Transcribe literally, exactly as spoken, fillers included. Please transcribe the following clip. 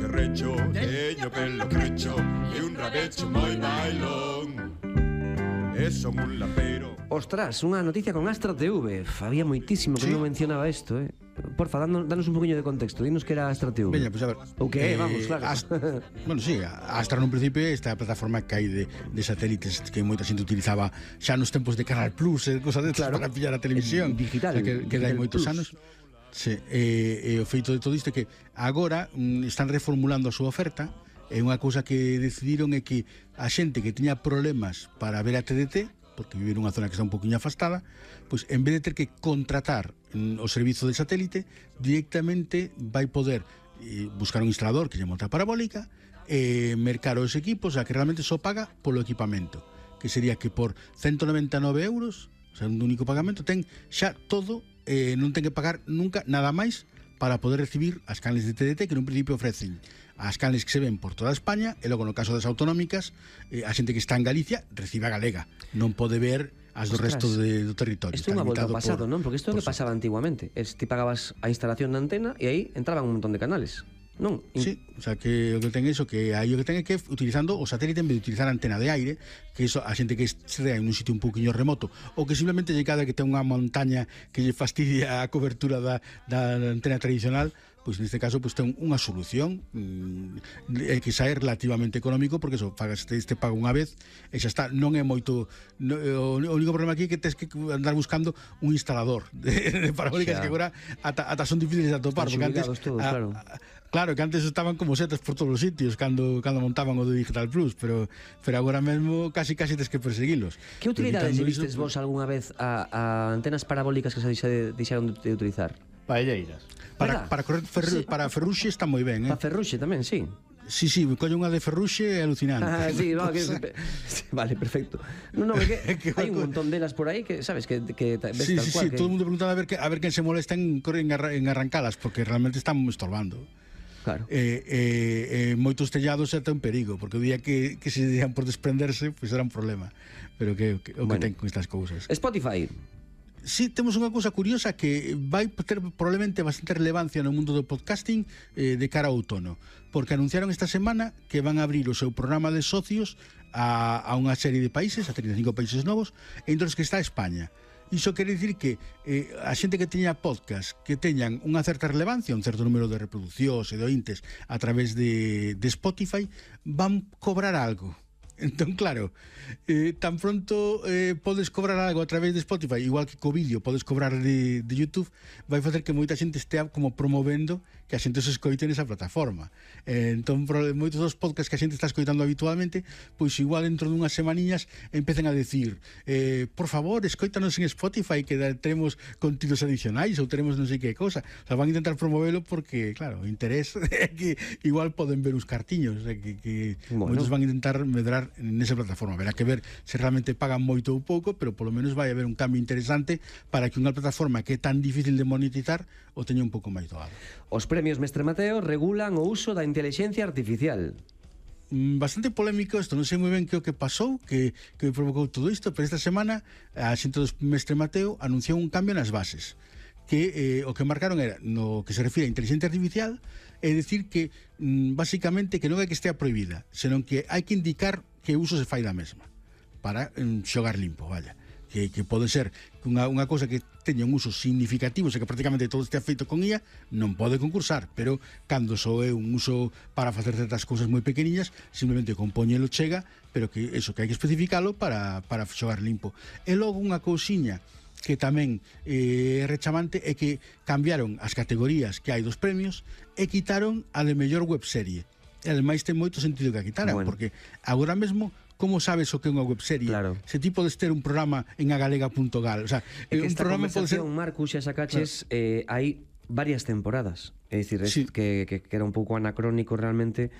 que recho, teño pelo crecho e un rabecho moi bailón. E son un lapeiro. Ostras, unha noticia con Astra T V. Había moitísimo que Sí. non mencionaba isto, eh. Porfa, danos, danos un poquinho de contexto. Dinos que era Astra T V. Veña, pois pues a ver. O que é, vamos, claro. As, bueno, sí, Astra nun principio esta plataforma que hai de, de satélites que moita xente utilizaba xa nos tempos de Canal Plus e cosas destas Claro. para pillar a televisión. Digital, O sea, que, que dai Digital moitos Plus. anos. Sí, e, e o feito de todo isto é que agora mm, están reformulando a súa oferta. E unha cousa que decidiron é que a xente que tiña problemas para ver a T D T, porque vive nunha zona que está un poquinho afastada, pois en vez de ter que contratar mm, o servizo de satélite, directamente vai poder eh, buscar un instalador que lle monta a parabólica e mercar os equipos, a que realmente só paga polo equipamento, que sería que por ciento noventa e nove euros, o sea, un único pagamento, ten xa todo, eh, non ten que pagar nunca nada máis para poder recibir as canles de T D T que nun principio ofrecen as canles que se ven por toda España e logo no caso das autonómicas eh, a xente que está en Galicia recibe a galega, non pode ver as do Ostras, resto de, do territorio. Isto é unha volta ao pasado, por, non? Porque isto é o por que pasaba antiguamente. Es, ti pagabas a instalación da antena e aí entraban un montón de canales, non? In... Sí, o sea, que o que ten é iso, que aí o que ten é que utilizando o satélite en vez de utilizar a antena de aire, que iso a xente que estea en un sitio un poquinho remoto ou que simplemente lle cada que ten unha montaña que lle fastidia a cobertura da, da antena tradicional, pois neste caso pois ten unha solución mm, que xa é relativamente económico, porque eso, pagas este, este pago unha vez e xa está, non é moito no, o, o único problema aquí é que tens que andar buscando un instalador de, de parabólicas que agora ata, ata son difíciles de atopar, Están porque antes todos, a, claro. a, Claro, que antes estaban como setas por todos os sitios cando cando montaban o de Digital Plus, pero pero agora mesmo casi casi tes que perseguilos. Que utilidades Evitando vistes iso, vos algunha vez a, a antenas parabólicas que se deixa- deixaron de utilizar? Paelleiras. Para, Verdad? para correr ferru, Sí. para Ferruxe está moi ben, Pa eh. Ferruxe tamén, sí. Sí, sí, colle unha de Ferruxe é alucinante. Ah, sí, no, que, sí, vale, perfecto. No, no, que, Que hai un va- montón delas por aí que, sabes, que, que ves Sí, tal sí, cual sí, que... todo o mundo preguntaba a ver que a ver quen se molesta en correr en, arra, en arrancalas, porque realmente están estorbando. Claro. Eh, eh, eh, moitos tellados é un perigo, porque o día que, que se dejan por desprenderse, pois pues era un problema. Pero que, que o que Bueno. ten con estas cousas. Spotify. Sí, temos unha cousa curiosa que vai ter probablemente bastante relevancia no mundo do podcasting eh, de cara ao outono, porque anunciaron esta semana que van a abrir o seu programa de socios a, a unha serie de países, a trinta e cinco países novos, entre os que está España. Iso quere dicir que eh, a xente que teña podcast que teñan unha certa relevancia, un certo número de reproduccións e de ointes a través de, de Spotify, van cobrar algo. Entón, claro, eh, tan pronto eh, podes cobrar algo a través de Spotify, igual que co vídeo podes cobrar de, de YouTube, vai facer que moita xente estea como promovendo que a xente se escoite nesa plataforma. Eh, entón, pro, moitos dos podcasts que a xente está escoitando habitualmente, pois igual dentro dunhas semaniñas empecen a decir eh, por favor, escoítanos en Spotify que da, teremos contidos adicionais ou teremos non sei que cosa. O sea, van a intentar promovelo porque, claro, o interés é que igual poden ver os cartiños, o sea, que, que Bueno. moitos van a intentar medrar nesa plataforma. Verá que ver se realmente pagan moito ou pouco, pero polo menos vai haber un cambio interesante para que unha plataforma que é tan difícil de monetizar o teña un pouco máis doado. Os premios Mestre Mateo regulan o uso da inteligencia artificial. Mm, Bastante polémico isto, non sei moi ben que o que pasou, que, que provocou todo isto, pero esta semana a xente do Mestre Mateo anunciou un cambio nas bases, que eh, o que marcaron era, no que se refire a inteligencia artificial, é dicir que mm, basicamente que non é que estea prohibida, senón que hai que indicar que uso se fai da mesma para mm, xogar limpo, vaya, que, que pode ser unha, unha cousa que teña un uso significativo, se que prácticamente todo estea feito con I A, non pode concursar, pero cando só é un uso para facer certas cousas moi pequeniñas, simplemente compóñelo chega, pero que eso que hai que especificalo para, para xogar limpo. E logo unha cousiña que tamén é eh, rechamante é que cambiaron as categorías que hai dos premios e quitaron a de mellor webserie. E ademais ten moito sentido que a quitaran, Bueno. porque agora mesmo como sabes o que é unha webserie? Claro. Se ti podes ter un programa en agalega punto gal, o sea, É que un esta programa pode ser conversación, Marcus, xa sacaches, claro. eh, hai varias temporadas. É dicir, Sí. que, que, que era un pouco anacrónico realmente